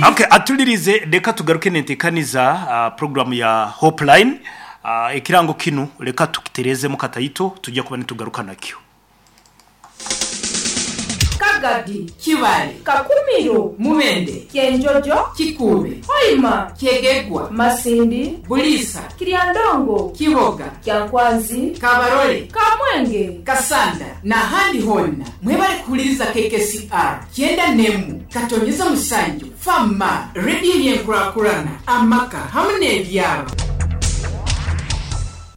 Okay, atulirize leka tugaruke nentekaniza program ya Hopeline. Ekirango kinu leka tukiterezemu kataito tujja kuba nitugaruka nakyo. Kagadi. Kibaale. Kakumiro. Mubende. Kyenjojo. Kikuube. Hoima. Kyegegwa. Masindi. Buliisa. Kiryandongo. Kiboga. Kyankwanzi. Kabarole. Kamwenge. Kasanda n'ahandi hoona. Mwebale kuhuliriza KKCR kyenda n'emu katonyeza musanju Fama, rediyo y'enkurakurana, amaka hamu n'ebyaro.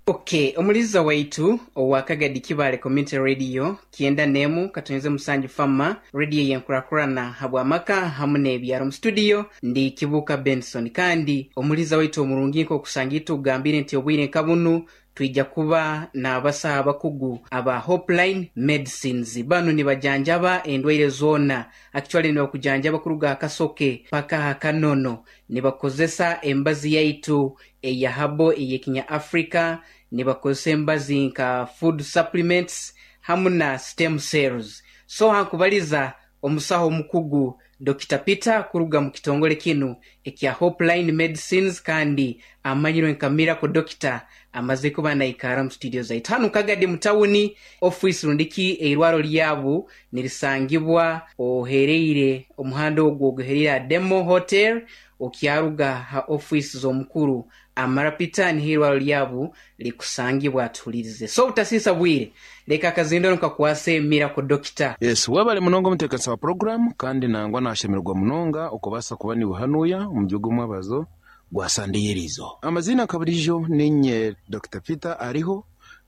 Ok, omuliza waitu owa Kagadi Kibaale Community Radio kyenda n'emu katonyeza musanju Fama, rediyo y'enkurakurana habw'amaka hamu n'ebyaro. Mu studio ndi Kibuuka Benson kandi omuliza waitu omurungi nk'okusanga itwe okugambire nti obwire nka bunu twija kuba n'abasaho abakugu aba Hopeline Medicines. Banu nibajanjaba endwaire zoona. Actually nibakujanjaba kuruga aha kasoke paka aha kanono. Nibakozesa embazi yaitu eya habo ey'ekinya Africa, nibakozesa embazi nka food supplements hamu na stem cells. So hankubaliza omusaho omukugu Dokita Peter kuruga mu kitongole kinu ekya Hopeline Medicines kandi amanyirwe nka Miracle Doctor amaze kuba naikara mu studio zaitu hanu Kagadi mu tawuni office rundiki eirwaro lyabu nirisangibwa ohereire omuhanda ogwo oguhereire aha Demo Hotel okyaruga ha office z'omukuru Amara Peter niho eirwaro lyabu likusangibwa atuhulirize. So obutasiisa bwire leka akazindaro nkakwase Miracle Doctor. Yes, webale munonga omuteekanisa wa puroguramu kandi nangwa nashemererwa munonga okubaasa kuba niiwe hanuya omuri ogu omwebazo gwa Sande y'eriizooba. Amaziina nka burijo ninye Dokita Peter Ariho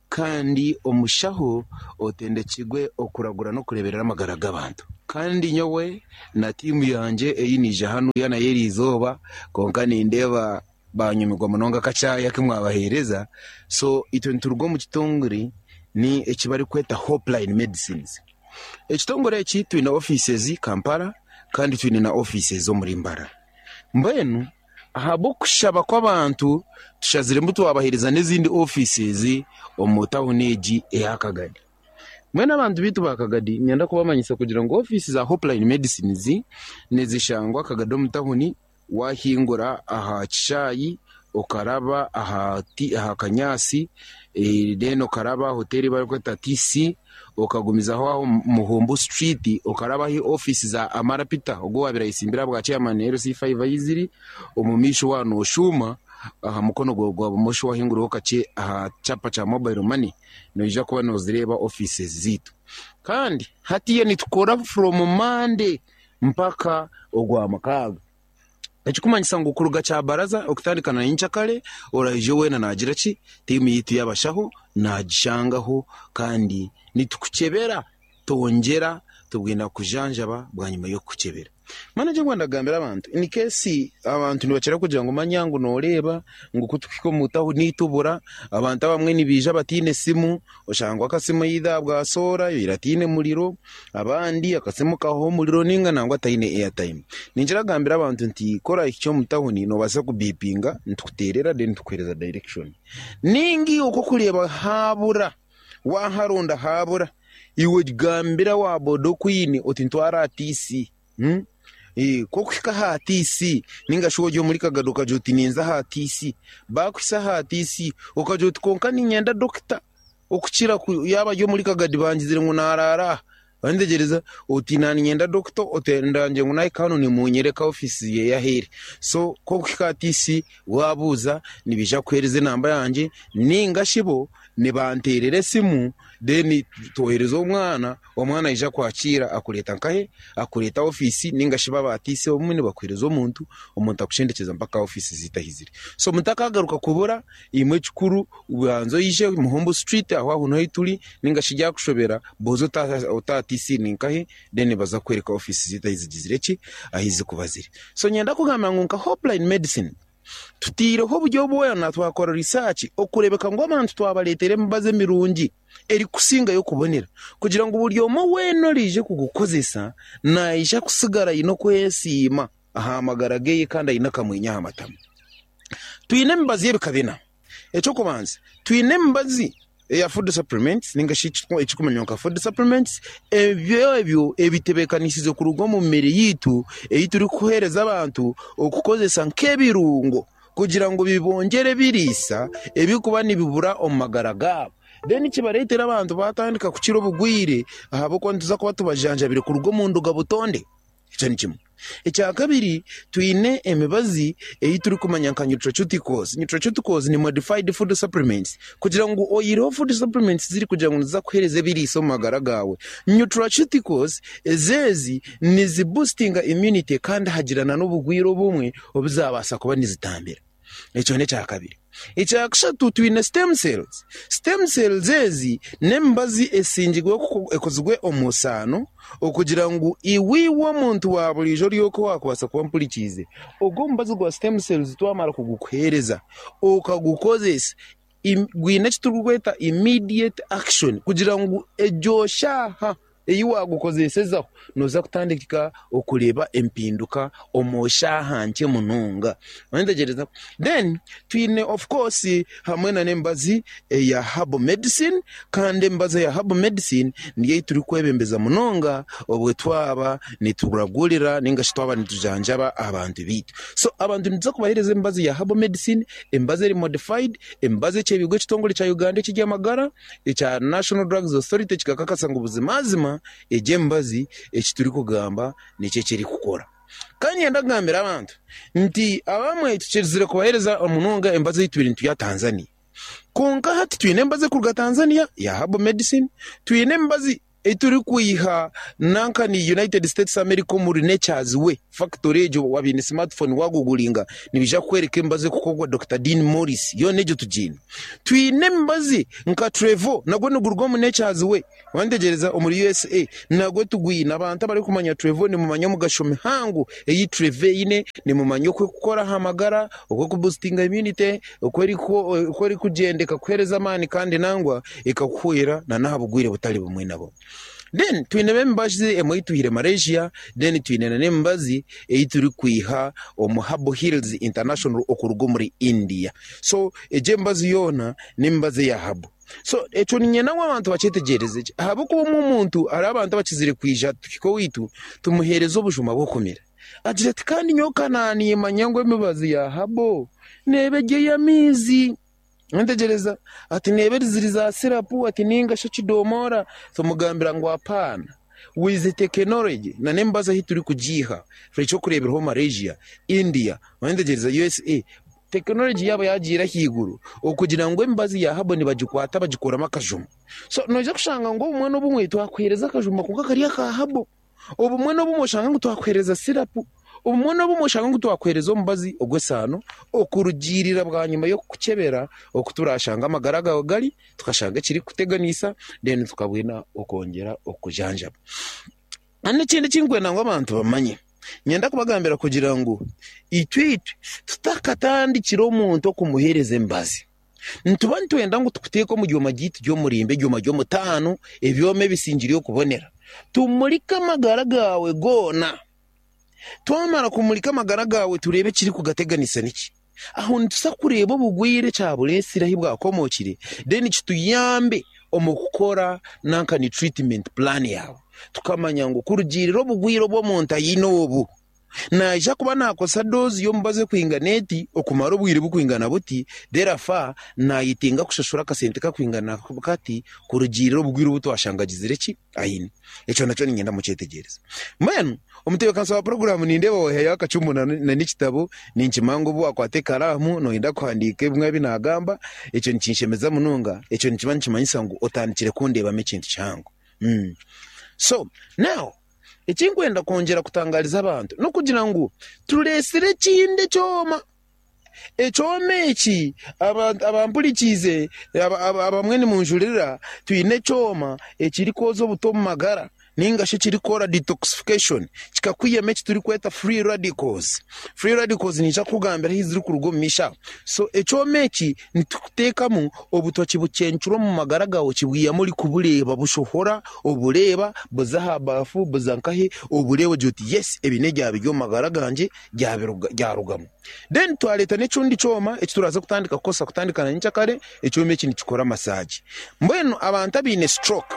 kandi omushaho otendekirwe okuragura n'okureeberera amagara g'abantu. Kandi nyowe na tiimu yangye ei naija hanuya nayo eriizooba kwonka nindeeba banyumirwa munonga akacaayi aku mwabaheereza. So itwe nituruga omu kitongore ni eki barikweta Hopeline Medicines. Ekitongore eki twine offices Kampala kandi twine na offices omuri Mbarara. Mbwenu ahabw'okushaba kw'abantu tushaziremu twabaheereza n'ezindi offices omu tawuni egi eya Kagadi. Mbwenu abantu baitu ba Kagadi niinyenda kubamanyisa kugira ngu ofiisi za Hopeline Medicines nizishangwa Kagadi omu tawuni Waahingura aha kishaayi okaraba aha aha kanyaatsi then okaraba aha hoteeri ei barikweta TC okagumizaho aho Muhumbu Street okaraba ahu ofiisi za Amara Peter ogwo owaabaire ayetsimbire ahabwa chairman LC5 ahu ziri, omu maisho waaba nooshuuma aha mukono gwawe gwa bumosho waahinguraho kakye aha kyapa kya mobile money noija kuba noozireeba ofiisi zaitu. Kandi hatiiya nitukora from Monday mpaka Ogwamukaaga. Ekirikumanyisa ngu kuruga Kyabaraza okutandika na nyenkyakare, oraije weena naagira ki? Tiimu yaitu y'abashaho naagishangaho kandi nitukukyebera twongyera tubwine kukujanjaba bwanyima y'okukukyebera. Mbwenu eki ndikwenda kugambira abantu, in case abantu nibakira kugira ngu manya ngu nooreeba ngu ku tuhika omu tawuni tubura, abantu abamwe nibaija bataine simu, oshanga ngu akasimu either bwasoora oire ataine muriro, Abandi akasimu kahwa omuriro ninga nangwa taine airtime. Ninkira kugambira abantu nti ku orahikye omu tawuni nobaasa kubipinga nitukuterera then tukuhereza direction. Ninga iwe ku orikureeba habura, waharonda habura, iwe gambira wa boda okwine oti ntwara aha TC. Ku orikuhika aha TC ninga shi ori omuri Kagado okagira oti ninza aha TC, bakuhitsya aha TC okagira oti kwonka niinyenda dokita. Okukira ku yaaba ari omuri Kagadi bangizire ngu naaraara aha, bantegyereza oti na niinyenda dokita oti ndangire ngu naahika hanu nimunyereka ofiisi ye ahu eri. So ku orikuhika aha TC waabuuza nibaija kukuheereza enamba yangye nainga shi bo nibanteerera esimu then twohereza omwana, omwana aija akwakiira akureeta nkahe? Akureeta aha ofiisi nainga shi bo aba TC obumwe nibakuheereza omuntu, omuntu akushendekyeza mpaka aha ofiisi zaitu ahu ziri. So mutakagaruka kubura Imwe ekikuru banza oije Muhumbu Street aho aho niho turi ninga shi ryakushobera buuza oti aha TC ninkahi then nibaza kukwereka ofiisi zaitu ahu zigizire ki ahu zirikuba ziri. So niinyenda kugamba ngu nka Hopeline Medicine tutaireho oburyo bwona twakora research okureebeka ngu abantu twabareetera emibazi emirungi erikusingayo kubonera kugira ngu buri omwe weena oraije kugukozesa naija kusigara aine okwesiima aha magara ge kandi aine akamwenyo aha matama. Twine emibazi y'ebika bina. Eky'okubanza, twine emibazi eya food supplements ninga shi ekirikumanywa nka food supplements, ebyo ebyo ebitebeekanisize kuruga omu mibiri yaitu ei turikuheereza abantu okukozesa nk'ebirungo kugira ngu bibongyere ebiriisa ebirikuba nibibura omu magara gaabo. Then kibareetera abantu baatandika kukira obugwire ahabw'okuba nituza kuba tubajanjabire kuruga omu nduga butonde. Ekyo ni kimwe. Ekya kabiri, twine emibazi ei turikumanya nka nutraceuticals. Nutraceuticals ni modified food supplements. Kugira ngu oyihireho food supplements ziri kugira ngu niziza kukuheereza ebiriisa omu magara gaawe, nutraceuticals ezo ezi niziboostinga immunity kandi hagira n'obugwire obumwe obu zaabaasa kuba nizitambira. Ekyo n'ekya kabiri. Ekya kashatu twine stem cells. Stem cells ezi n'emibazi esingirwe ekozirwe omu saano okugira ngu iwe iwe omuntu wa buriijo ori oku waakubaasa kuba ompurikiize, ogwo omubazi gwa stem cells twamara kugukuheereza okagukozesa, gwine eki turikweta immediate action kugira ngu egyo shaaha ei waagukozesezaho nooza kutandika okureeba empinduka omu shaaha nkye munonga. Noyetegyereza? Then twine of course hamwe nana emibazi eya herbal medicine kandi emibazi eya herbal medicine niyo ei turikwebembeza munonga obwe twaba nituragurira ninga shi twaba nitujanjaba abantu baitu. So abantu nituza kubaheereza emibazi ya herbal medicine, emibazi eri modified, emibazi ekyebiirwe ekitongore kya Uganda eky'eby'amagara ekya National Drugs Authority kikakakasa ngu buzimazima egi emibazi eki turikugamba nikyo eki erikukora. Kandi niinyenda kugambira abantu nti abamwe tukirizire kubaheereza munonga emibazi ei tubaire nitwiha Tanzania. Kwonka hati twine emibazi erikuruga Tanzania eya herbal medicine, twine emibazi ei turikwiha nanka ni United States America omuri Nature's Way factory egyo waaba oine smartphone waaguguringa nibaija kukworeka emibazi erikukorwa Dokita Dean Morris yoona egyo tugiine. Twine emibazi nka Trevo nagwo niguruga omu Nature's Way wantegyereza omuri USA nagwo tugwine. Abantu abarikumanya Trevo nimumanya omugasho mihango ei Trevo eine, nimumanya oku erikukora aha magara, oku erikubusitinga immunity, oku erikugyenda ekakuheereza amaani kandi nangwa ekakuhwera n'aha bugwire butari bumwe na bumwe. Then twinemu emibazi emwe ei twihire Malaysia, then twine n'emibazi ei turikwiha omu Herbal Hills International okuruga omuri India. So egyo emibazi yoona n'emibazi eya herbal. So ekyo niinyenda ngu abantu bakyetegyereze gye ahabw'okuba omwe omuntu hariho abantu abakizire kwija tuhike owaitu tumuheereze obujuma bw'okumira. Agira ati, Kandi nyowe ka naaniimanya ngu emibazi ya herbal neeba eri ey'amaizi. Ntegereza ati neeba eri ziri za sirapu ati ninga shi ekidomora tumugambira ngu apaana with the technology na n'emibazi ahu turikugiiha ekyokureeberaho Malaysia, India, ntegereza USA technology yaabo yagiire ahaiguru okugira ngu emibazi ya herbal nibagikwata bagikoramu akajuma so noija kushanga ngu obumwe n'obumwe twakuheereza akajuma kwonka kari aka herbal. Obumwe n'obumwe oshanga ngu twakuheereza sirapu, obumwe n'obumwe oshanga ngu twakuheereza omubazi ogw'esaano okurugiirira bwanyima y'okukukyebera oku turaashanga amagara gaawe gari, tukashanga ekirikukuteganisa then tukabwena okwongyera okukujanjaba. Kandi ekindi eki ndikwenda ngu abantu bamanye, niinyenda kubagambira kugira ngu itwe itwe tutakatandikire omuntu okumuheereza emibazi, Nituba nitwenda ngu tukuteeke omu ryoma ryaitu ry'omurimba, eryoma ry'omutaano, ebyoma ebisingire okubonera. Tumurike amagara gaawe goona. Twamara kumurika amagara gaawe tureebe ekirikugateganisa niki. Aho nituza kureeba obugwire ekyabureetsire ahu bwakomookire then kituyambe omu kukora nanka ni treatment plan yaawe. Tukamanya ngu kurugiirira obugwire obu omuntu aine obu, Naija kuba naakozesa doozi y'omubazi ekwingana eti okumara obwire bukwingana buti, therefore naayetenga kushashura akasente kakwingana kati kurugiirira obugwire obu twashanga agizire ki aine. Ekyo nakyo niinyenda mukyetegyereze. Mbwenu omutebeekanisa wa puroguraamu nindeeba waihayo akacumu na n'ekitabo, ninkimanya ngu obu waakwata ekaraamu nooyenda kuhandiika ebimwe ebi naagamba, ekyo nikinshemeza munonga, ekyo nikiba nikimanyisa ngu otandikire kundeebamu ekintu kihango. So now. Eki ndikwenda kwongyera kutangaariza abantu n'okugira ngu tureetsire ekindi ekyoma. Ekyoma eki abampurikiize abamwe nimunjurira, twine ekyoma ekirikwoza obuto omu magara. Nainga shi ekirikukora detoxification, kikakwihamu eki turikweta free radicals. Free radicals niija kukugambira ahu zirikuruga omu maisho aho. So ekyoma eki nitukuteekamu obutwa kibucencura omu magara gaawe kibwihamu orikubureeba bushohora, obureeba, buza aha baafu, buza nkahi, obureeba ogira oti yes ebi n'ebyaba biri omu magara gangye byarugamu. Then twareeta n'ekindi kyoma eki turaaze kutandika kukozesa kutandika na nyenkyakare, ekyoma eki nikikora massage. Mbwenu abantu abaine stroke,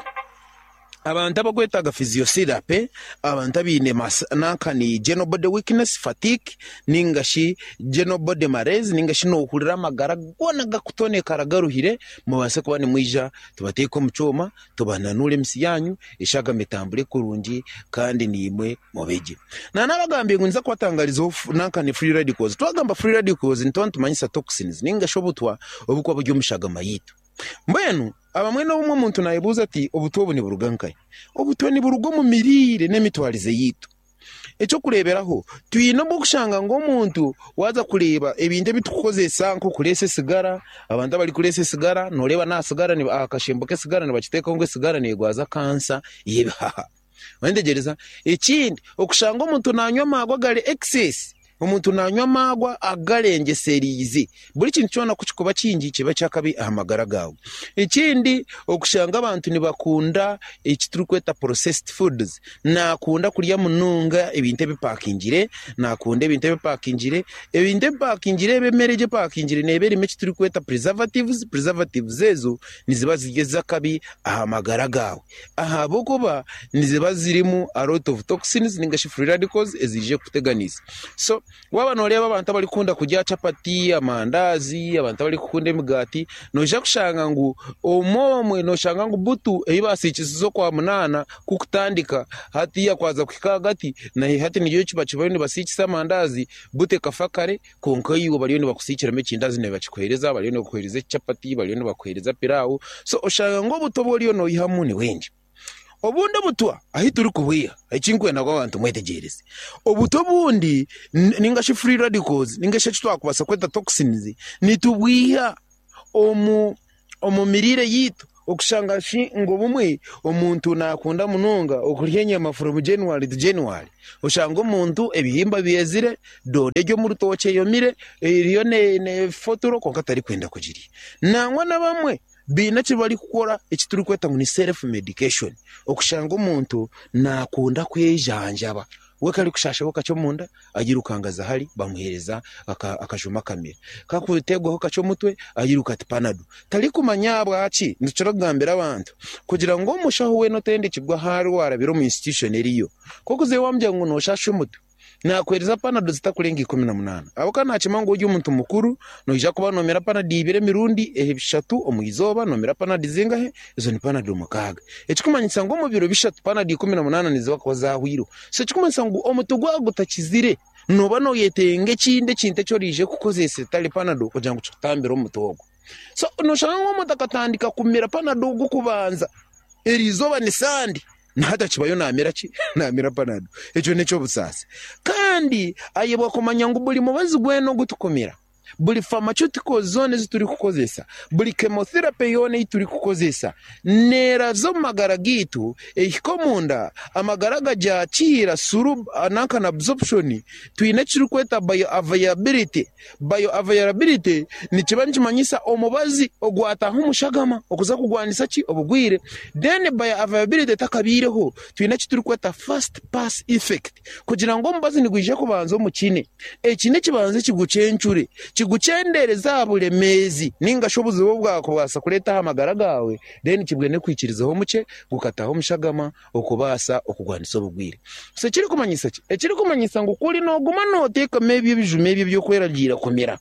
Abantu abakwetaaga physiotherapy, abantu abaine nankani general body weakness, fatigue ninga shi general body malaise ninga shi nohurira amagara goona gakutonekara garuhire, mubaase kuba nimwija tubateeke omu kyoma tubananure emisi yanyu, eshagama etambure kurungi kandi naimwe mube gye. Nanabagambiire ngu ninza kubatangarizaho nankani free radicals. Twagamba free radicals nituba nitumanyisa toxins ninga shi obutwa oburikuba buri omu shagama yaitu. Mbwenu abamwe n'obumwe omuntu naayebuuza ati, Obutwa obu niburuga nkahi? Obutwa niburuga omu miriire n'emitwarize yaitu. Eky'okureeberaho, twine obw'okushanga ngu omuntu waaza kureeba ebintu ebi turikukozesa nk'okureesa esigara, abantu abarikureesa esigara nooreeba n'aha sigara aha kashembo k'esigara nibakiteekaho ngu esigara neerwaza kansa y'ebihaha. Oyetegyereza? Ekindi, okushanga omuntu naanywa amaarwa agari excess, omuntu naanywa amaarwa agarengyesereize. Buri kintu kyona ku kirikuba kingi kiba eky'akabi aha magara gaawe. Ekindi, okushanga abantu nibakunda eki turikweta processed foods, naakunda kurya munonga ebintu ebipakingire, naakunda ebintu ebipakingire. Ebintu ebipakingire ebi, emere egi epakingire neeba erimu eki turikweta preservatives, preservatives ezo niziba ziri ez'akabi aha magara gaawe. Ahabw'okuba niziba zirimu a lot of toxins ninga shi free radicals eziije kukuteganisa. So waaba nooreeba abantu abarikukunda kurya chapati, amandaazi, abantu abarikukunda emigaati, noija kushanga ngu omwe omwe nooshanga ngu butu ei baasiikisize Okwamunaana kukutandika hatiiya kwaza kuhika ahagati na hati niryo kiba bariyo nibasiikisa amandaazi, butu ekafa kare Kwonka iwe bariyo nibakusiikiramu ekindazi nibakikuheereza, bariyo nibakuheereza echapati, bariyo nibakuheereza pilau. So oshanga ngu obutwa obu oriyo noihamu ni bwingi. Obundi obutwa ahu turikubwiha, eki ndikwenda ngu abantu mwetegyereze, obutwa obundi ninga shi free radicals ninga shi eki twakubaasa kweta toxins, nitubwiha omu omu miriire yaitu. Okushanga shi ngu obumwe omuntu naakunda munonga okurya enyama from January to January, oshanga omuntu ebihimba byezire, doodo eri omu rutookye eyomire, eriyo neefa oturo kwonka tarikwenda kugirya. Nangwa n'abamwe baine eki barikukora eki turikweta ngu ni self medication, okushanga omuntu naakunda kwejanjaba. We ku arikushaashaho kakye omunda, airuka aza ahari bamuheereza akajuma akamira. Ku arikuteerwaho kakye omutwe, airuka ati panado. Tarikumanya ahabwaki nitukira kugambira abantu kugira ngu omushaho weena otendekirwe ahu ari waarabire omu institution eriyo, ku orikuzayo waamugira ngu nooshaasha omutwe, naakuheereza panado zitakurenga 18. Ahabw'okuba naakimanya ngu ori omuntu mukuru, noija kuba noomira panado ibiri emirundi eshatu omu izooba, noomira panado zingahi? Ezo ni panado mukaaga. Ekikumanyisa ngu omu biro bishatu panado 18 niziba kuba zaahwaireho. So ekikumanyisa ngu omuti gwaba gutakizire, nooba nooyetenga ekindi ekintu eki oraije kukozesa etari panado kugira ngu kikutambire omuti ogwo. So nooshanga ngu omuntu akatandika kumira panado ogw'okubanza, eriizooba ni Sande, na hati akibayo naamira ki? Naamira panado. Ekyo n'eky'obusaasi. Kandi ayebwa kumanya ngu buri mubazi gwena ogu tukumira, Buri pharmaceuticals zoona ezi turikukozesa, buri chemotherapy yoona ei turikukozesa neeraza omu magara gaitu ehika omunda, amagara gagyakiira through nanka na absorption. Twine eki turikweta bioavailability. Bioavailability nikiba nikimanyisa omubazi ogwataaha omu shagama okuza kurwanisa ki? Obugwire. Then bioavailability etakabaireho, twine eki turikweta first pass effect. Kugira ngu omubazi nigwija kubanza omu kine, eki n'ekibanza kigucencure, kigukyendeereze aha buremeezi nainga shi obuzibu obu bwakubaasa kureeta aha magara gaawe, then kibwene kwikirizaho mukye gukataaha omu shagama okubaasa okugwanisa obugwire. So ekirikumanyisa ki? Ekirikumanyisa ngu kuri nooguma nooteekama ebyo ebijuma ebyo eby'okweragiira kumira,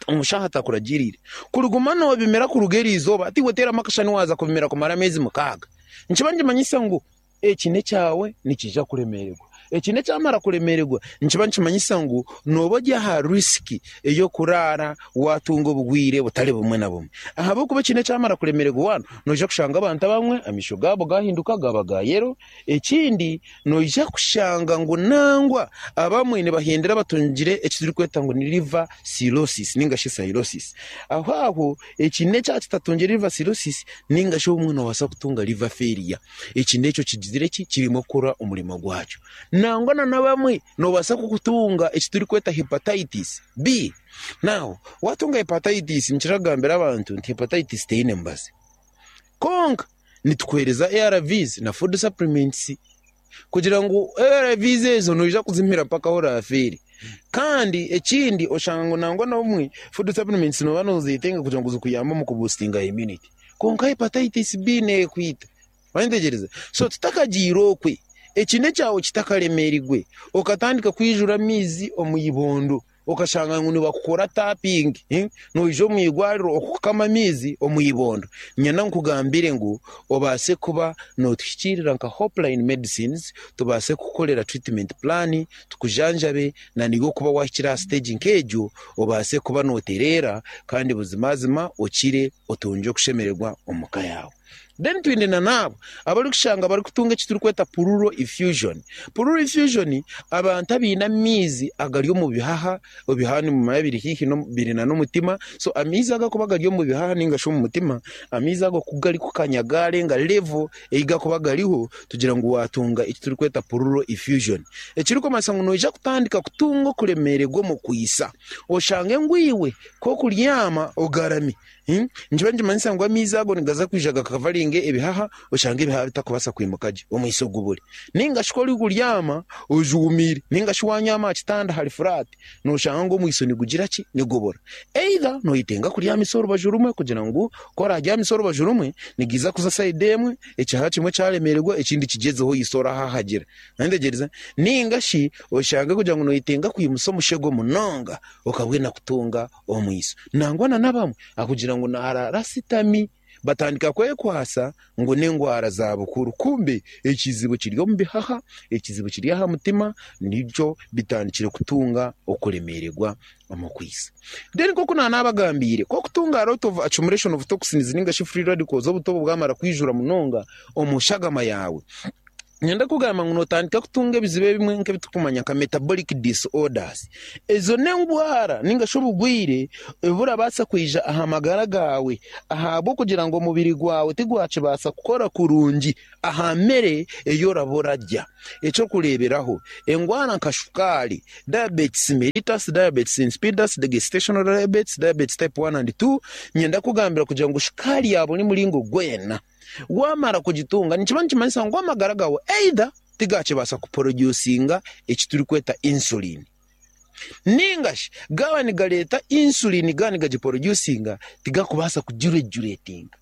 omushaho atakuragiiriire, kuriguma noobimira kuruga eriizooba, hati iwe teeramu akashushani waaza kubimira kumara ameezi mukaaga, nikiba nikimanyisa ngu Eki n'ekyawe nikiija kuremeererwa. Ekine kyamara kuremererwa nikiba nikimanyisa ngu nooba ori aha risiki ey'okuraara waatunga obugwire butari bumwe na bumwe. Ahabw'okuba ekine kyamara kuremererwa wanu noija kushanga abantu abamwe amaisho gaabo gahinduka gaaba ga yero. Ekindi noija kushanga ngu nangwa abamwe nibahendera batungire eki turikweta ngu ni liver cirrhosis ninga shi cirrhosis. Aho aho ekine kyaba kitatungire liver cirrhosis ninga shi obumwe noobaasa kutunga liver failure. Eki nekyo kigizire ki? Kirimu kukora omurimo gwakyo. Nangwa na n'abamwe noobaasa kukutunga eki turikweta hepatitis B. Now waatunga hepatitis nikira kugambira abantu nti hepatitis teine mubazi. Kwonka nitukuheereza ARVs na food supplements kugira ngu ARVs ezo noija kuzimira mpaka ahu oraafeere. Kandi ekindi oshanga ngu nangwa n'obumwe food supplements nooba noozetenga kugira ngu zikuyambe omu kubusitinga immunity. Kwonka hepatitis B neekwita. Wayetegyereza? So tutakagiire okwe, ekine kyawe kitakaremeerigwe, okatandika kwijura amaizi omu ibondo, okashanga ngu nibakukora tapping, noija omu irwariro okukama amaizi omu ibondo. Nyenda nkugambire ngu obaase kuba nootuhikiirira nka Hopeline Medicines, tubaase kukukorera treatment plan, tukujanjabe, na niiwe okuba waahikire aha stage nk'egyo, obaase kuba nootereera kandi buzimazima okire otungye okushemererwa omu ka yaawe. Then twine na n'abo abarikushanga barikutunga eki turikweta pleural effusion. Pleural effusion abantu abaine amaizi agari omu bihaha, ebihaha nimumanya biri haihi biri na n'omutima, so amaizi ago akuba gari omu bihaha ninga shi omu mutima, amaizi ago ku garikukanya gaarenga level ei garikuba gariho, tugira ngu waatunga eki turikweta pleural effusion. Ekirikumanyisa ngu noija kutandika kutunga okuremeererwa omu kwitsa, oshange ngu iwe ku orikuryama ogarami. Nikiba nikimanyisa ngu amaizi ago nigaza kwija gakavaringa ebihaha, oshange ebihaha bitakubaasa kwimuka gye, omwitsyo gubure. Nainga shi ku orikuryama ojuumiire, nainga shi waanyaama aha kitanda hari furaati, nooshanga ngu omwitsyo nigugira ki? Nigubura. Either noyetenga kuryamisa orubaju rumwe kugira ngu ku oraaryamisa orubaju rumwe, nigiiza kuza sayidi emwe, ekihaha kimwe kyaremeererwa ekindi kigyezeho oitse orahahagira. Noyetegyereza? Nainga shi oshange kugira ngu noyetenga kwimusa omushego munonga okabwena kutunga omwiso. Nangwa na n'abamwe akugira ngu naaraara asitami, batandika kwekwasa ngu n'endwara za bukuru kumbe ekizibu kiri omu bihaha, ekizibu kiri aha mutima nikyo bitandikire kutunga okuremeererwa omu kwitsa. Then nk'oku naanabagambiire, ku orikutunga a lot of accumulation of toxins ninga shi free radicals obuta obu bwamara kwijura munonga omu shagama yaawe, Niinyenda kugamba ngu nootandika kutunga ebizibu ebimwe nk'ebi turikumanya nka metabolic disorders. Ezo n'endwara nainga shi obugwire oburabaasa kwija aha magara gaawe ahabw'okugira ngu omubiri gwawe tigwakibaasa kukora kurungi aha mere ei oraba orarya. Eky'okureeberaho, endwara nka shukaari, diabetes mellitus, diabetes insipidus, gestational diabetes, diabetes type one and two, niinyenda kugambira kugira ngu shukaari ya buri muringo gwena. Waamara kugitunga nikiba nikimanyisa ngu amagara gaawe either tigakibaasa kuporodyusinga eki turikweta insulin ninga shi gaaba nigareeta insulin gaaba nigagiporodyusinga tigarikubaasa kugireguretinga.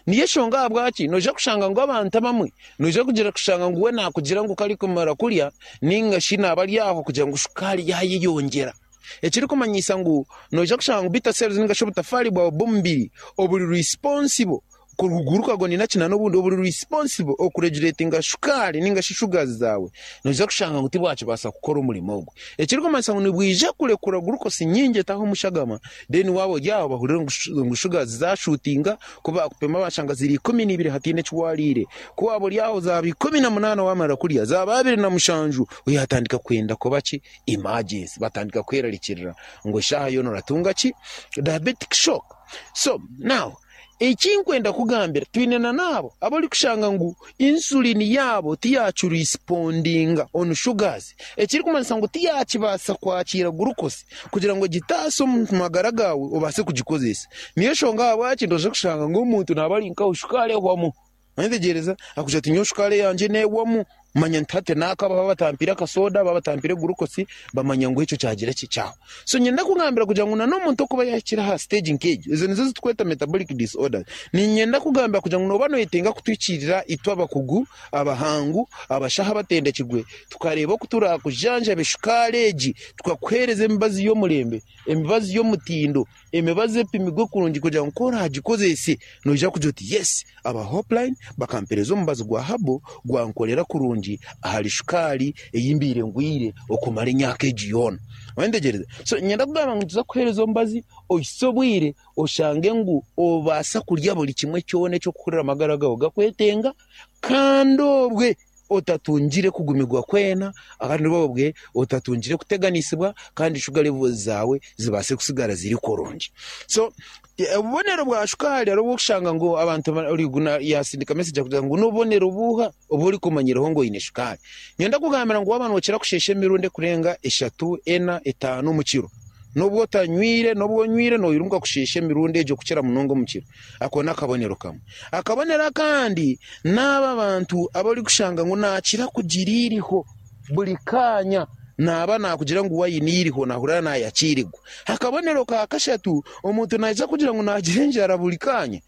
Niyo enshonga ahabwaki noija kushanga ngu abantu abamwe noija kugira kushanga ngu we naakugira ngu ku arikumara kurya ninga shi naaba ari aho kugira ngu shukaari yaayeyongyera. Ekirikumanyisa ngu noija kushanga ngu beta cells ninga shi obutafaari bwawe bw'omubiri oburi responsible kuruguruka nina ki n'obundi oburi responsible okureguletinga shukaari ninga shi sugars zaawe, noija kushanga ngu tibwakibaasa kukora omurimo ogwo. Ekirikumanyisa ngu nibwija kurekura glucose nyingi etaho omu shagama then waaba ori aho bahurire ngu sugars zashuutinga, ku baakupima baashanga ziri 12 hataine eki waariire. Ku waaba ori aho zaaba 18 waamara kurya, zaaba 27 oyatandika kwenda kuba ki? Emergency. Batandika kwerarikirira ngu eshaaha yoona oratunga ki? Diabetic shock. So now Eki nkwenda kugambira, twine na n'abo abu orikushanga ngu insulin yaabo tiyakirisipondinga on sugars, ekirikumanyisa ngu tiyakibaasa kwakiira glucose kugira ngu egitaase omu magara gaawe obaase kugikozesa. Niyo nshonga ahabwaki noija kushanga ngu omuntu naaba ari nkawe shukaari ehwamu. Noyetegyereza? Akugira ati nyowe shukaari eyangye neehwamu. Manya nti hati naakaba baaba batampaire akasoda, baaba batampaire glucose, bamanya ngu ekyo kyagira ki? Kyahwa. So niinyenda kugambira kugira ngu n'omuntu okuba yaahikire aha stage nk'egyo, ezo nizo ezi turikweta metabolic disorders. Niinyenda kugambira kugira ngu nooba nooyetenga kutuhikiirira itwe abakugu, abahangu, abashaho abatendekirwe, tukareeba oku turaakujanjabe shukaari egi, tukakuheereza emibazi y'omurembe, emibazi y'omutindo. Emibazi epimirwe kurungi kugira ngu ku oraagikozese noija kugira oti yes, aba Hopeline bakampereza omubazi gwa herbal gwankorera kurungi ahari shukaari ei mbaire ngwire okumara emyaka egi yoona. Oyentegereza? So niinyenda kugamba ngu nituza kukuheereza omubazi ohitsye obwire oshange ngu obaasa kurya buri kimwe kyona eky'okuhurira amagara gaawe gakwetenga kandi obwe otatungire kugumirwa kwena kandi obwe otatungire kuteganisibwa kandi shuga levels zaawe zibaase kusigara ziri kurungi. So obubonero bwa shukaari hariho obu orikushanga ngu abantu yaasindika message akugira ngu n'obubonero buuha obu orikumanyiraho ngu oine shukaari. Niinyenda kugambira ngu waaba nookira kusheesha emirundi erikurenga eshatu, ena, etaano omu kiro, n'obu otanywire n'obu onywire noirunga kusheesha emirundi egyo kukira munonga omu kiro. Ako n'akabonero kamwe. Akabonero akandi n'abo abantu abu orikushanga ngu naakira kugira eiriho buri kaanya naaba naakugira ngu we aine eiriho naahurira naayakiirirwa. Akabonero ka kashatu, omuntu naija kugira ngu naagira enjara buri kaanya.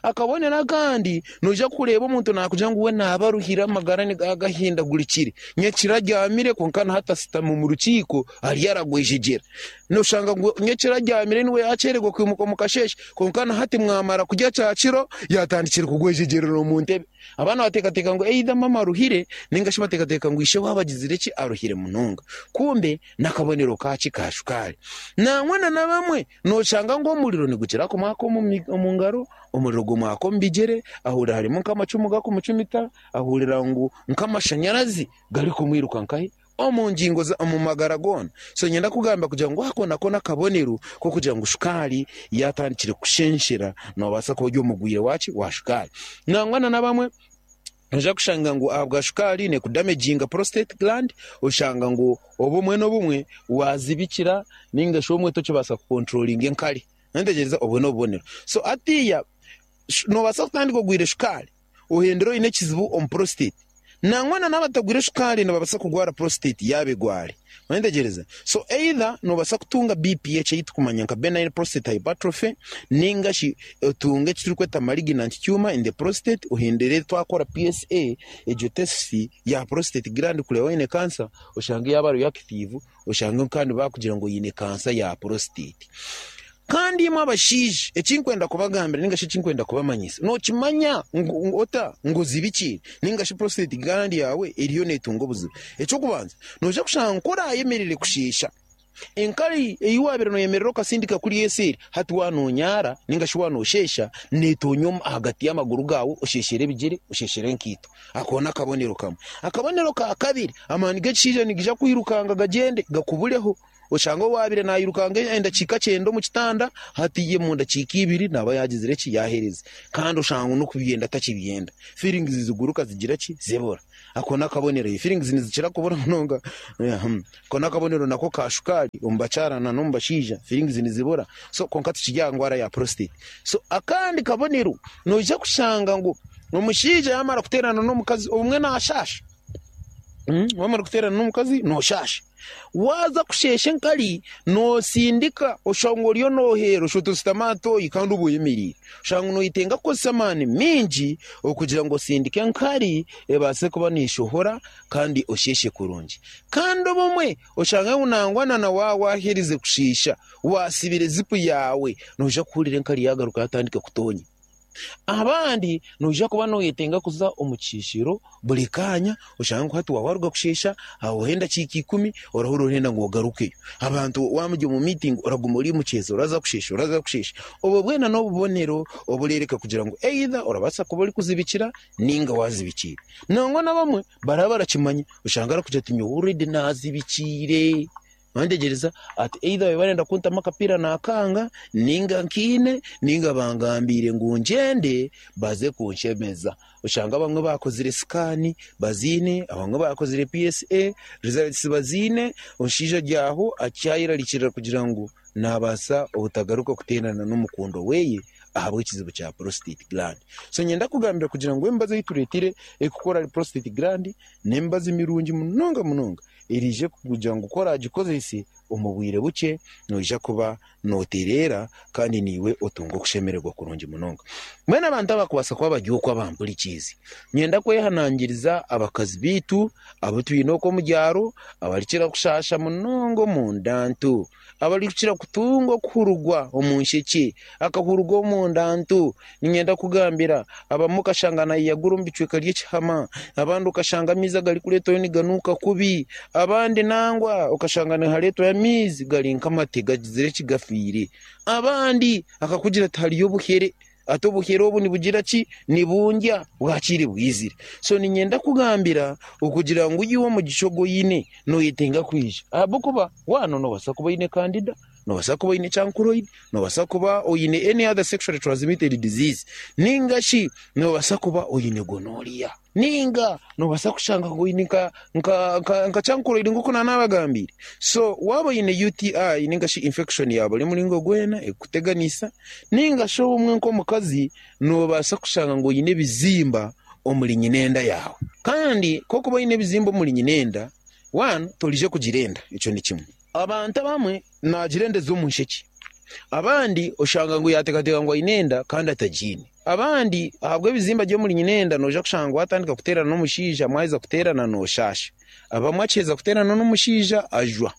Akabonero akandi, noija kureeba omuntu naakugira ngu we naaba aruhire amagara gahindagurikire. Nyekiro abyamire kwonka na hati ashutami omu rukiiko ariyo aragwejegyera. Noshanga ngu nyekiro abyamire niwe yaakyererwa kwimuka omu kasheeshe kwonka na hati mwamara kurya kyakiro yaatandikire kugwejegyerera omu ntebe. Abaana bateekateeka ngu either maama aruhire nainga shi bateekateeka ngu ishe waaba agizire ki aruhire munonga. Kumbe n'akabonero kaaki ka shukaari. Nangwa na n'abamwe noshanga ngu omuriro nigukira kumwaka omu ngaro, omuriro gumwaka omu bigyere, ahurira harimu nk'amacumu garikumucumita, ahurira ngu nk'amashanyarazi garikumwiruka nkahi omu ngingo omu magara goona. So niinyenda kugamba kugira ngu ako nako n'akabonero k'okugira ngu shukaari yaatandikire kushenshera noobaasa kuba ori omurwaire waaki wa shukaari. Nangwa na n'abamwe noija kushanga ngu ahabwa shukaari neekudamejinga prostate gland oshanga ngu obumwe n'obumwe waazibikira nainga shi obumwe tokibaasa kukonturoringa enkari. Noyetegyereza? Obwo n'obubonero. So hatiiya noobaasa kutandika ogwire shukaari ohendere oine ekizibu omu prostate. Nangwa na n'abatagwire shukaari nibabaasa kurwara prostate yaaba egware. Noyetegyereza? So either noobaasa kutunga BPH ei turikumanya nka benign prostate hypertrophy nainga shi otunge eki turikweta malignant tumor in the prostate ohendere twakora PSA egyo test ya prostate gland kureeba waine cancer oshange yaaba reactive oshange kandi baakugira ngu oine kansa ya prostate. Kandi imwe abashaija, eki nkwenda kubagambira ninga shi eki nkwenda kubamanyisa, nookimanya ngu ota ngu ozibikiire ninga shi prostate gland yaawe eriyo neetunga obuzibu? Eky'okubanza, noija kushanga ngu ku oraayemerere kusheesha, enkari ei waabaire nooyemerera okasindika kuriya eseeri, hati waaba noonyaara ninga shi waaba noosheesha, neetoonya ahagati y'amaguru gaawe osheeshere ebigyere, osheeshere enkaito. Ako n'akabonero kamwe. Akabonero ka kabiri, amaani g'ekishaija nigaija kwirukanga gagyende gakubureho. Oshange owaabaire nairukanga endakiika kyenda omu kitanda, hati omu ndakiika ibiri naaba yaagizire ki? Yaahereza. Kandi oshanga ngu n'okubyenda takibyenda. Feelings ziguruka zigira ki? Zibura. Ako n'akabonero. Feelings nizikira kubura munonga. Ako n'akabonero nako ka shukaari omu bakyara n'omu bashaija, feelings nizibura. So kwonka tikiri aha ndwara ya prostate. So akandi kabonero, noija kushanga ngu omushaija yaamara kuteerana n'omukazi obumwe naashaasha. Waamara kuteerana n'omukazi nooshaasha. Waaza kusheesha enkari, nootsindika oshanga oriyo nooheera oshuba oshutami aha tooyi kandi oba oyemereire. Oshanga noyetenga kukozesa amaani maingi okugira ngu osindike enkari ebaase kuba neeshohora kandi osheeshe kurungi. Kandi obumwe oshanga ngu nangwa na waaba waaherize kusheesha, waasibire zipu yaawe, noija kuhurira enkari yaagaruka yaatandika kutonya. Abandi noija kuba noyetenga kuza omu kisheeshero buri kaanya, oshange ngu hati waaba waruga kusheesha, hahwaho endakiika ikumi, orahurira orenda ngu ogarukeyo. Abantu waaba muri omu miitingi oraguma ori omu kyezo, oraza kusheesha, oraza kusheesha. Obwo bwena n'obubonero obureereka kugira ngu either orabaasa kuba orikuzibikira nainga waazibikiire. Nangwa n'abamwe baraba barakimanya, oshange arikugira ati nyowe already naazibikiire. Noyetegyereza? Ati either babaire barenda kuntamu akapiira nakanga, ninga nkiine, ninga bangambiire ngu ngyende baze kunshemeza. Oshanga abamwe baakozire scan baziine, abamwe baakozire PSA results baziine, omushaija ari aho akyayerarikirira kugira ngu naabaasa obutagaruka kuteerana n'omukundwa we ahabw'ekizibu kya prostate gland. So niinyenda kugambira kugira ngu emibazi ei tureetire erikukora ahari prostate gland n'emibazi mirungi munonga munonga. eriije kugira ngu ku oraagikozese omu bwire bukye noija kuba nootereera kandi naiwe otunga okushemererwa kurungi munonga. Mbwenu abantu abakubaasa kuba bari okwo abampurikiize, niinyenda kwehanangiriza abakazi baitu abu twine okwo omu byaro abarikukira kushaasha munonga omu nda nto, abarikukira kutunga okuhurugwa omu nshekye, akahurugwa omu nda nto. Niinyenda kugambira abamwe okashanga naayeyagura omu bicweka by'ekihama, abandi okashanga amaizi agarikureetwayo niganuuka kubi, abandi nangwa okashanga nihareetwayo amaizi gari nk'amate gagizire eki gafiire, abandi akakugira ati hariyo obuhere, ati obuhere obu nibugira ki? Nibundya bwakiire bwizire. So niinyenda kugambira okugira ngu iwe omugisha ogu oine noyetenga kwija ahabw'okuba waaba noobaasa kuba oine kandida, noobaasa kuba oine chancroid, noobaasa kuba oine any other sexually transmitted disease, ninga shi noobaasa kuba oine gonorrhea, ninga noobaasa kushanga ngu oine nka nka nka nka chancroid nk'oku naanabagambiire. So waaba oine UTI ninga shi infection ya buri muringo gwena ekukuteganisa, ninga shi obumwe nk'omukazi noobaasa kushanga ngu oine ebizimba omuri nyinenda yaawe. Kandi ku orikuba oine ebizimba omuri nyinenda, one, torije kugira enda, ekyo ni kimwe. Abantu abamwe naagira enda ez'omu nshekye, abandi oshanga ngu yaateekateeka ngu aine enda kandi atagiine. Abandi ahabw'ebizimba by'omuri nyinenda noija kushanga ngu waatandika kuteerana n'omushaija mwaheza kuteerana nooshaasha. Abamwe akiheza kuteerana n'omushaija ajwa.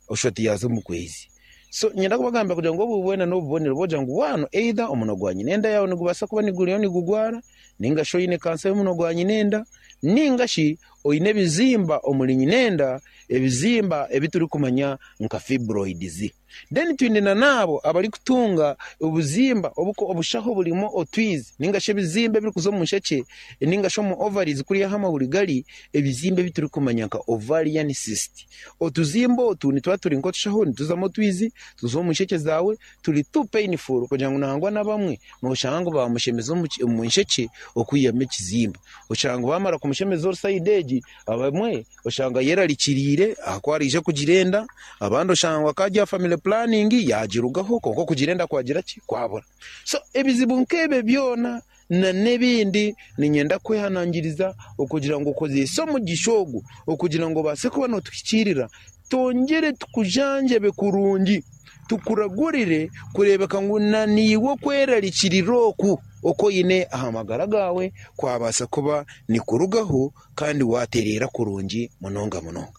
Oshusha oti yaaza omu kwezi. So niinyenda kubagambira kugira ngu obu bwena n'obubonero bw'okugira ngu waano either omunwa gwa nyinenda yaawe nigubaasa kuba niguriyo nigugwara, nainga shi oine kansa y'omunwa gwa nyinenda, nainga shi oine ebizimba omuri nyinenda, ebizimba ebi turikumanya nka fibroids. Then twine na n'abo abarikutunga obuzimba obushaho burimu otwizi nainga shi ebizimba ebirikuza omu nshekye nainga shi omu ovaries kuriya ahu amahuri gari, ebizimba ebi turikumanya nka ovarian cyst. Otuzimba otu nituba turi nk'otushaho nituzamu otwizi, tuza omu nshekye zaawe, turi too painful kugira ngu nangwa n'abamwe nooshanga ngu baamushemeza omu nshekye okwihamu ekizimba. Oshanga ngu baamara kumushemeza sayidi egi, abamwe oshanga ayerarikiriire ahakuba araija kugira enda, abandi oshanga ngu akaba ari aha family planning yaagirugaho kwonka okugira enda kwagira ki? Kwabura. So ebizibu nk'ebyo byona na n'ebindi niinyenda kwehanangiriza okugira ngu okozese omugisha ogu okugira ngu obaase kuba nootuhikiirira, twongyere tukujanjabe kurungi, tukuragurire kureebeka ngu na naiwe okwerarikirira oku oku oine aha magara gaawe kwabaasa kuba nikurugaho kandi waatereera kurungi munonga munonga.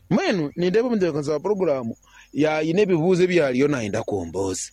Mbwenu nindeeba omutebeekanisa wa puroguraamu yaine ebibuuzo ebi ariyo naayenda kumbuuza.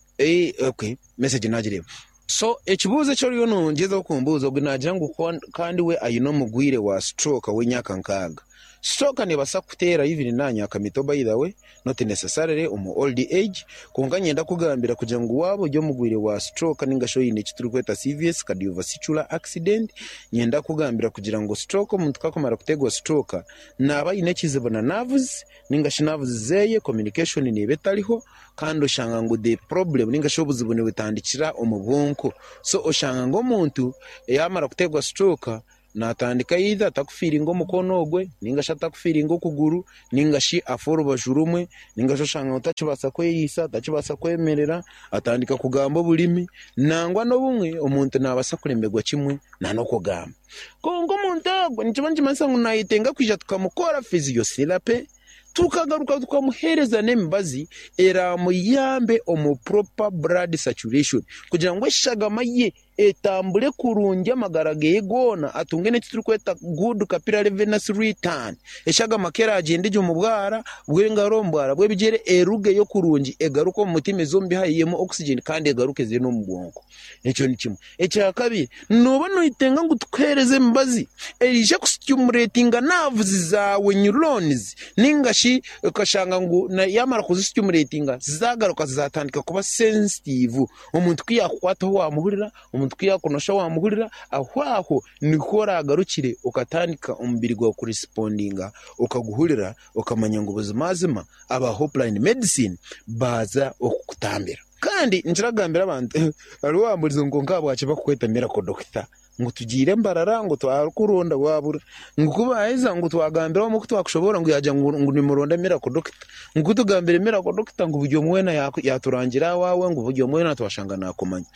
Okay, message naagireeba. So ekibuuzo eki oriyo nongyezaho kumbuuza ogwo naagira ngu kandi we aine omugwire wa stroke w'emyaka nkaaga. Stroke neebaasa kukuteera even n'aha myaka mito by the way, not necessarily omu old age, kwonka niinyenda kukugambira kugira ngu waaba ori omugwire wa stroke ninga shi oine eki turikweta CVS, cardiovascular accident, niinyenda kukugambira kugira ngu stroke omuntu ku akumara kuteerwa stroke naaba aine ekizibu na nerves ninga shi nerves zeeye communication neeba etariho, kandi oshanga ngu the problem ninga shi obuzibu nibutandikira omu bwonko. So oshanga ngu omuntu yamara kuteerwa stroke natandika either atakufiiringa omukono ogwe ninga shi atakufiiringa okuguru ninga shi afa orubaju rumwe ninga shi oshanga ngu takibaasa kweriisa, takibaasa kwemerera, atandika kugamba oburimi. Nangwa n'obumwe omuntu nabaasa kuremerwa kimwe n'okugamba. Kwonka omuntu ogwo nikiba nikimanyisa ngu nayetenga kwija tukamukora physiotherapy. Tukagaruka tukamuheereza n'emibazi eraamuyambe omu proper blood circulation kugira ngu eshagama ye etambure kurungi amagara ge goona atunge n'eki turikweta good capillary venous return. Eshagama ku eraagyende gye omu bwara bw'engaro, omu bwara bw'ebigyere erugeyo kurungi egaruke omu mutima eze omu bihaha eihemu oxygen kandi egaruke eze n'omu bwonko. Ekyo ni kimwe. Ekya kabiri, nooba noyetenga ngu tukuheereze emibazi eraija kusitimuletinga naavuzi zaawe, neurons, nainga shi okashanga ngu yaamara kuzisitimuletinga zaagaruka zaatandika kuba sensitive. Omuntu ku yaakukwataho waamuhurira, omuntu ku yaakunosha waamuhurira, aho aho niho oraagarukire okatandika omubiri gwawe kurisipondinga okaguhurira okamanya ngu buzimazima aba Hopeline Medicine baaza okukutambira. Kandi nkira kugambira abantu, hariho owamburize ngu kwonka ahabwaki bakukweta Miracle Doctor? Ngu tugiire Mbarara ngu twakuronda wabura, ngu ku baaheza ngu twagambira omwe ku twakushoboorora ngu yaagira ngu nimuronda Miracle Doctor, ngu ku tugambire Miracle Doctor ngu buri omwe weena yaaturangira owaawe ngu buri omwe weena twashanga naakumanya.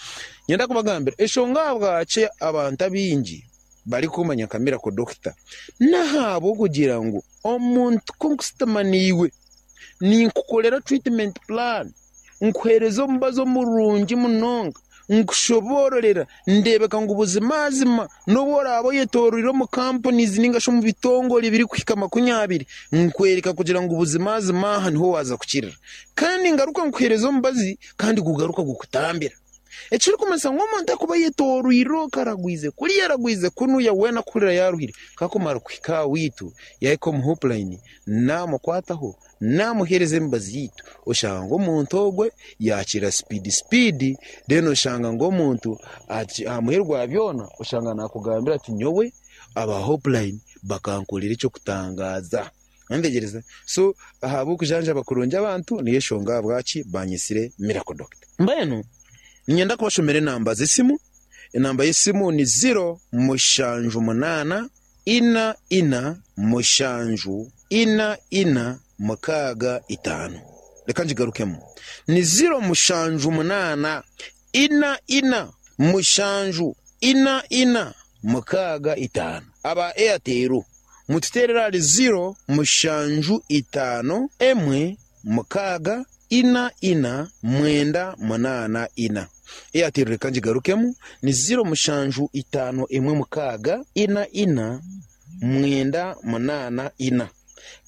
Niinyenda kubagambira enshonga ahabwaki abantu abaingi barikumanya nka Miracle Doctor n'ahabw'okugira ngu. Omuntu ku nkusitama naiwe, ninkukorera treatment plan, nkuheereza omubazi omurungi munonga, nkushoboororera, ndeebeka ngu buzimazima n'obu oraabe oyetooroire omu companies ninga shi omu bitongore ebirikuhika makunyabiri, nkwereka kugira ngu buzimazima aha niho waaza kukirira. Kandi ngaruka nkuheereza omubazi kandi gugaruka gukutambira. Ekirikumanyisa ngu omuntu akuba ayetooroire okwo aragwize kuriya aragwize kunuya weena akuhurira yaaruhire, ku akumara kuhika aha waitu yaahika omu Hopeline naamukwataho naamuheereza emibazi yaitu oshanga ngu omuntu ogwe yaakira sipiidi sipiidi then oshanga ngu omuntu aha muheru gwa byona oshanga naakugambira ati nyowe aba Hopeline bakankorera eky'okutangaaza. Nantegyereza. So ahabw'okujanjaba kurungi abantu niyo enshonga ahabwaki banyetsire Miracle Doctor. Mbwenu niinyenda kubashomera enamba z'esimu. Enamba y'esimu ni ziro mushanju munaana ina ina mushanju ina ina mukaaga itaano. Reka ngigarukemu. Ni ziro mushanju munaana ina ina mushanju ina ina mukaaga itaano. Aba Airtel mututeerere ahari ziro mushanju itaano emwe mukaaga ina ina mwenda munaana ina. Airtel reka ngigarukemu ni ziro mushanju itaano emwe mukaaga ina ina mwenda munaana ina.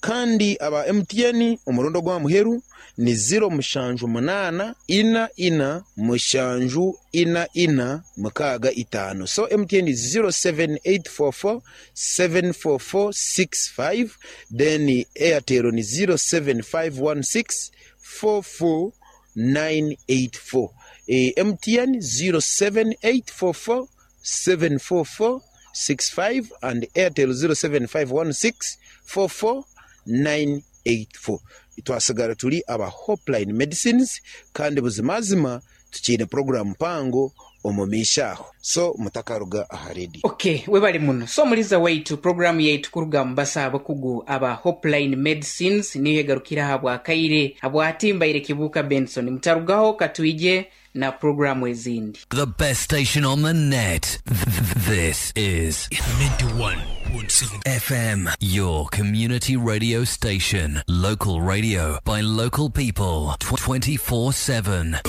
Kandi aba MTN omurundi ogwa muheru ni ziro mushanju munaana ina ina mushanju ina ina mukaaga itaano. So MTN is 07844 74465 then Airtel ni 07516 44984. MTN 07844 74465 and Airtel 07516 44984. Twasigara turi aba Hopeline Medicines kandi buzimazima tukiine puroguraamu mpango omu maisho aho. So mutakaruga aha rediyo. Ok, webale muno. So omuliza waitu, puroguraamu yaitu kuruga omu basaho abakugu aba Hopeline Medicines niyo egarukire aha bwakaire. Habwati mbaire Kibuuka Benson. Mutarugaho katwije na puroguraamu ezindi. The best station on the net. This is 91.7 FM, your community radio station. Local radio by local people 24/7.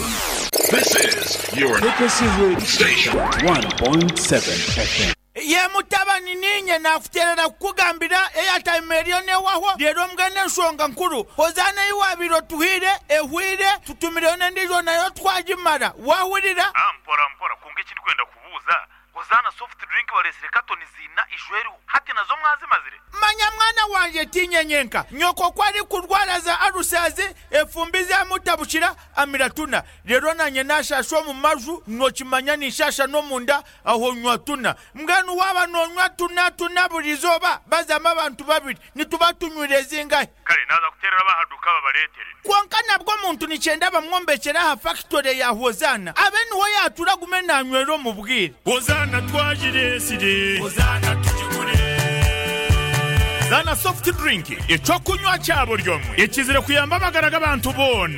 This is your KKC station. 1.7 FM. Ye mutabani niinye naakuteerera kukugambira airtime eriyo neehwaho reero mbwenu enshonga nkuru Hozaana ei waabaire otuhaire ehweire tutumireyo n'endiijo nayo twagimara. Waahurira? Ah mpora mpora kwonka eki ndikwenda kubuuza, Hozaana soft drink bareetsire katoni ziina ijo eriho hati nazo mwazimazire? Manya mwana wangye tiinye nyenka, nyoko ku arikurwara za alusazi, efumbi zamutabukira, amira tuna. Reero naanye naashaasha omu maju, nookimanya ninshaasha n'omunda, aho nywa tuna. Mbwenu waaba noonywa tuna tuna buri izooba, bazamu abantu babiri, nituba tunywire zingahi? Kare naaza kuteerera ab'aha duuka babareetere. Kwonka nabwo omuntu nikyenda bamwombekyere aha fakitore ya Hozaana, abe niho yaatuura agume naanywera omu bwire. Hozaana twagireetsire. Hozaana tugigure. Zaana Soft Drink, eky'okunywa kya buri omwe ekizire kuyamba amagara g'abantu boona.